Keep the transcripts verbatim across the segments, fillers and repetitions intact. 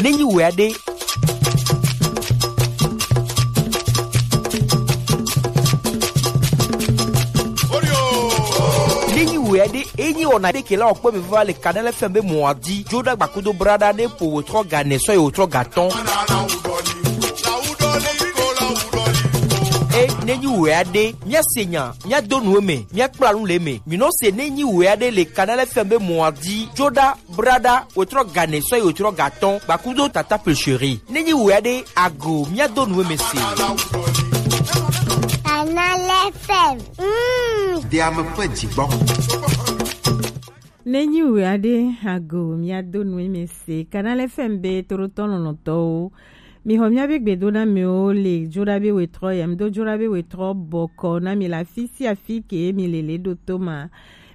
Nenyi wea ɖe. Nenyi wea ɖe, enyi wɔna ɖe ke la wɔkpɔ mi va le Kanal F M be mɔa di. Joɖa gbakudo braɖa ne po wòtrɔ ga ne sɔ ye wòtrɔ ga tɔn. E nenyi wea ɖe, mia se nya, mia do nu eme, mia kpla nu le eme. Mi nɔ se nenyi wea ɖe le Kanal F M be mɔa di. Joɖa braɖa, wòtrɔ ga ne sɔ ye wòtrɔ ga tɔn, gbakudo tata Pulchérie. Nenyi wea ɖe ago, mia do nu eme se. Kanal F M. Mm. Deame ƒe dzigbɔ. Nenyi wea ɖe ago, mia do nu eme se. Kanal F M be torotɔ lɔlɔtɔwo. Mi xɔ mia be gbedo na mewo le joɖa be wòtrɔ ya. Mi do joɖa be wòtrɔ bɔkɔ na mi la fi sia fi ke mi le le ɖo to ma.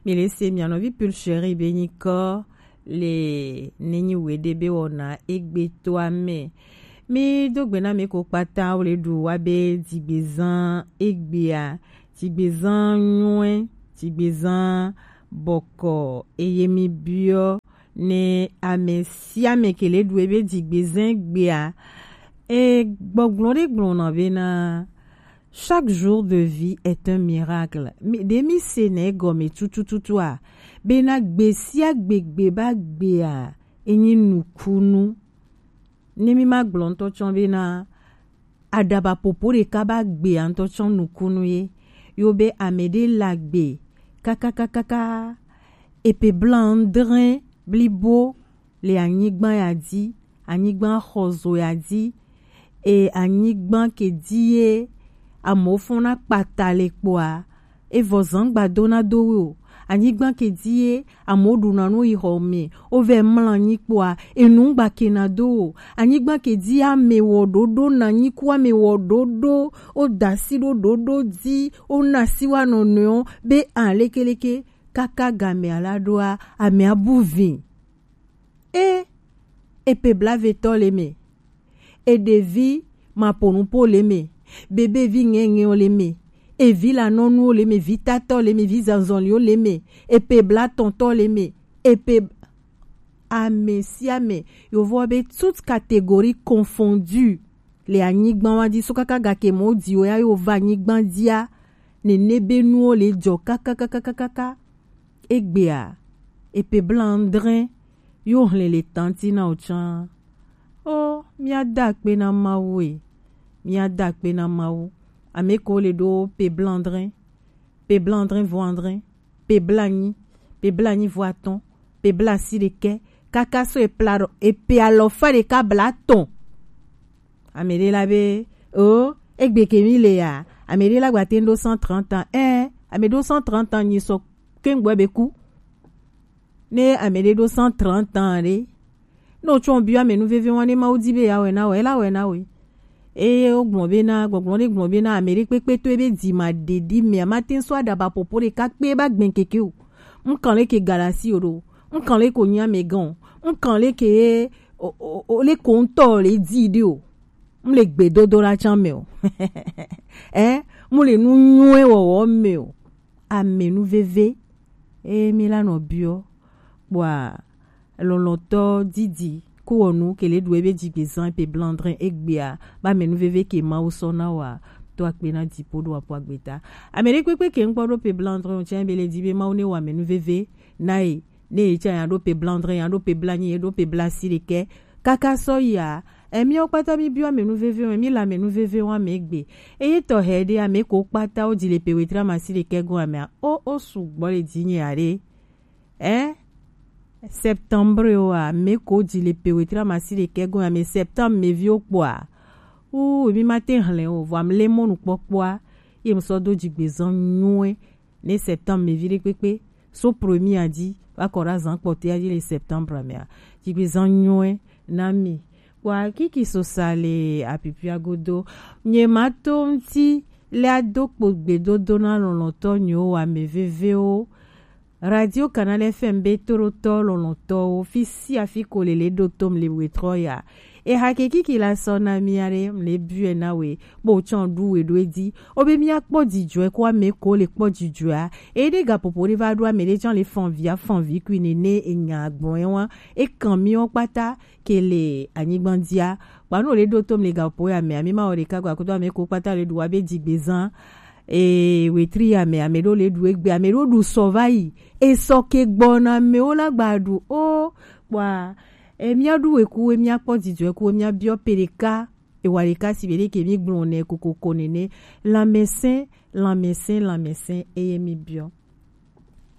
Mi le se mia nɔvi Pulchérie be nyikɔ le nenyi wea ɖe be wɔna egbe toa me. Mi do gbe na mi ko kpata wo le ɖu wa be dzigbezan egbea, dzigbezan nyuie, dzigbezan bɔkɔ eye mi biɔ ne ame sia ame ke le ɖu ebe dzigbezan egbea. E gbɔgblɔ ɖe gblɔna bena chaque jour de vie est un miracle. Mi- ɖe mi se na egɔme tutututua bena gbe sia gbe gbe ba gbea enyi nukunu. Ne mi ma gblɔ ŋutɔ tsɔ bena aɖaba popo ɖeka ba gbea ŋutɔ tsɔ nukunu ye. Yo be ame ɖe la gbe kakakakaka epe blanc andre blibo le anyigba ya dzi, anyigba xɔzo ya dzi, e anyigba ke dzi ye amewo fɔna kpata le kpɔa, evɔ zan gba dona do wo o. Anyigba ke dzi ye amewo ɖuna nu yi xɔ me, wo vɛ mla anyi kpɔa, enu gba kena do o. Anyigba ke dzi ame wɔ ɖoɖo na anyi ku ame wɔ ɖoɖo, wo da asi ɖo ɖoɖo dzi, wo na asi wa nɔnɔewo be a lekeleke kaka game ala ɖoa, amea bu vi. E, epe blavetɔ le me, eɖevi maponupo le me, bebevi ŋɛŋɛwo le me, evi lanɔnuwo le me, vitatɔ le me, vizanzɔliwo le me, epe blatɔntɔ le me, epe ame sia ame. Yovowo be toute catégorie confondue le anyigba wa dzi, so kaka gake mɔ diwo ya yo va anyigba dzia, nene be nuwo le dzɔ kakakakakaka. Egbea, epe blanc andre yo hlẽ le tanti na o tsã. O, mia da akpe na Mawu e. Mia da akpe na Mawu. Ame ko le ɖo pe blanc andre, pe blanc andre vo andre, pe blanc anyi, pe blanc anyi vo atɔ̃, pe blanc asiɖekɛ, kaka so epla ɖo epe alɔfa ɖeka blatɔ̃. Ame ɖe la be, o, egbe ke mi le ya. Ame ɖe la gba te ɖo cent trente ans. Ɛ, ame ɖo cent trente ans nyi sɔ kengbe be ku. Ne ame ɖe ɖo cent trente ans ɖe, ne wotsɔ biɔ ame nu veve wa ne Mawu di be ya wɛ na wɛ, ela wɛ na wɛ. Eye wogblɔ be na, gbɔgblɔ ɖe gblɔ be na ame ɖe kpekpe to ebe dzi ma ɖeɖi me, ama te sɔ aɖaba popo ɖeka kpe ba gbɛn keke o. Nkan le ke galasi o ɖo. Nkan le ko nya me gan. Nkan le ke o, o, o le ko ŋutɔ le di ɖe o. M le gbedodoɖa tsã me o. Ɛ, m le nu nyuie wɔwɔ me o. Ame nu veve. Eye mi la nɔ biɔ. Kpɔa, lɔlɔtɔ didi ko wɔ nu ke le ɖu ebe dzigbezan pe blanc andre egbea, ba ame nu veve ke Mawu sɔ na wa, to akpe na dipo ɖo apo agbeta. Ame ɖe kpekpe ke ŋkpɔ ɖo pe blanc andre o tsã be le di be Mawu ne wa ame nu veve na ye. Ne ye tsã ya ɖo pe blanc andre, ya ɖo pe blanc anyi, ye ɖo pe blanc asiɖekɛ. Kaka sɔ ya, emiawo kpata mi biɔ ame nu veve o, mi le ame nu veve wa me egbe. Eye tɔxɛ ɖe ame ko kpata wo di le pe wetre amasiɖekɛ go amea. O, o sugbɔ le di nye aɖe. Ɛ? Septembre o a, ame ko di le pe wetre amasiɖekɛ go ame septembre me viwo kpɔa. O, mi ma te hlẽ o, vɔ am le mɔnu kpɔkpɔa. Ye m sɔ do dzigbezan nyuie. Ne septembre me vi ɖe kpekpe, so premier a dzi va kɔ ɖe azan kpɔtɔe a dzi le septembre mea, dzigbezan nyuie na mi. Kpɔa kiki sosa le apipia godo, nye ma to ŋuti le ado kpo gbedodo na lɔlɔtɔ nyewo wa ame vevewo. Radio Canal F M be toɖotɔ lɔlɔtɔwo, fi sia fi ko le le ɖo tom le wetrɔ ya. Eha ke kiki la sɔ na mia ɖe mle biɔe na we, bo tsɔ ɖu we ɖo edi. Obe mia kpɔ dzidzɔe ko ame ko le kpɔ dzidzɔa. Ede gaƒoƒo ɖe va ɖo ame ɖe tsɔ le fɔn via fɔn vi kui nene enya gbɔn wa. E kan miwo kpata ke le anyigba dzia. Kpanu le ɖo tom le gaƒoƒo ya me, ami ma wo ɖeka gba kudo ame ko kpata le ɖu wa be dzigbezan. E wetri ya me, ame ɖo le ɖu egbe, ame ɖo ɖu sɔ va yi. E sɔ ke gbɔna amewo la gba ɖu o. Kpɔa, e mia ɖu weku, e mia kpɔ dzidzɔ ku, e mia biɔ pe ɖeka. E wa ɖeka si be ɖe ke mi gblɔ ne kokoko nene. Lanmɛsɛn, lanmɛsɛn, lanmɛsɛn, eye mi biɔ.